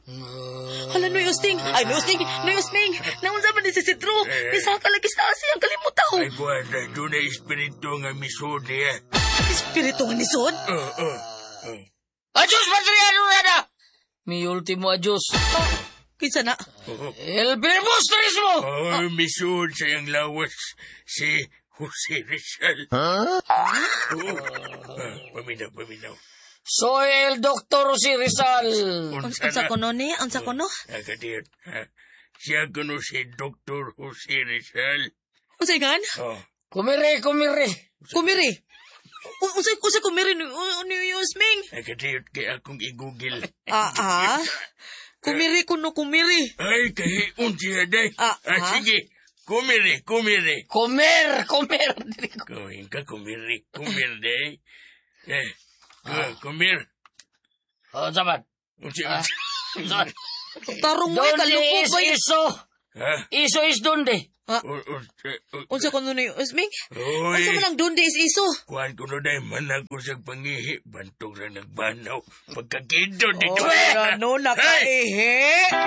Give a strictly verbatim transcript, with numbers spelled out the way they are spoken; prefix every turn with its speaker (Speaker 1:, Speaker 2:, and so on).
Speaker 1: Hala, Noy Usting. Ay, Noy Usting. Noy Usting. Naunsa man ni si Sidro? Nisaka lagi sa asiyang kalimutaw.
Speaker 2: Ay, kuwan na, doon na espiritu nga misod niya.
Speaker 1: Espiritu nga nisod?
Speaker 2: Oo, oo. oo.
Speaker 3: Adios, Patriano na! Mi ultimo adios.
Speaker 1: Kinsa na?
Speaker 3: El Bilbustrismo!
Speaker 2: Oh, misod sa iyang lawas si Jose Rizal. Huh? Oo. Ah, paminaw, paminaw.
Speaker 3: Soy el Doctor Jose Rizal.
Speaker 2: Unsa
Speaker 1: Unsa
Speaker 2: na?
Speaker 1: kono ni? Unsa kono?
Speaker 2: Ah, kadiyot. Ha? Siya kuno si Doctor Jose Rizal.
Speaker 1: Unsa gan?
Speaker 2: Oh.
Speaker 3: Kumire, kumire.
Speaker 1: Kumiri. U- Unsa unsa kumiri ni ni Usming?
Speaker 2: Ay, kadiyot kay akong i-google.
Speaker 1: Ah, ah. Kumiri kuno kumiri.
Speaker 2: Ay, kahiun siya day.
Speaker 1: Ah,
Speaker 2: Ah,
Speaker 1: ah.
Speaker 2: sige. Kumiri, kumiri.
Speaker 3: Comer, comer.
Speaker 2: Kuhin ka, kumiri, kumir day. Eh, ah. kumir.
Speaker 3: Oh, sabat.
Speaker 2: Unsa, unsa.
Speaker 3: Unsa?
Speaker 1: Tarong mo
Speaker 3: Donde
Speaker 1: kalupok
Speaker 3: is
Speaker 1: ba yun?
Speaker 3: iso?
Speaker 2: Ha?
Speaker 3: Iso is donde?
Speaker 1: Ah,
Speaker 2: O- o- o-
Speaker 1: unsa kono ni Usming?
Speaker 2: Oy.
Speaker 1: Unsa man ang donde is iso?
Speaker 2: Kuhan ko no day, man ako sa pangihi. Bantog ra nagbanaw. Pagkakido dito.
Speaker 1: Oh, ano
Speaker 2: Hey!
Speaker 1: nakaihi?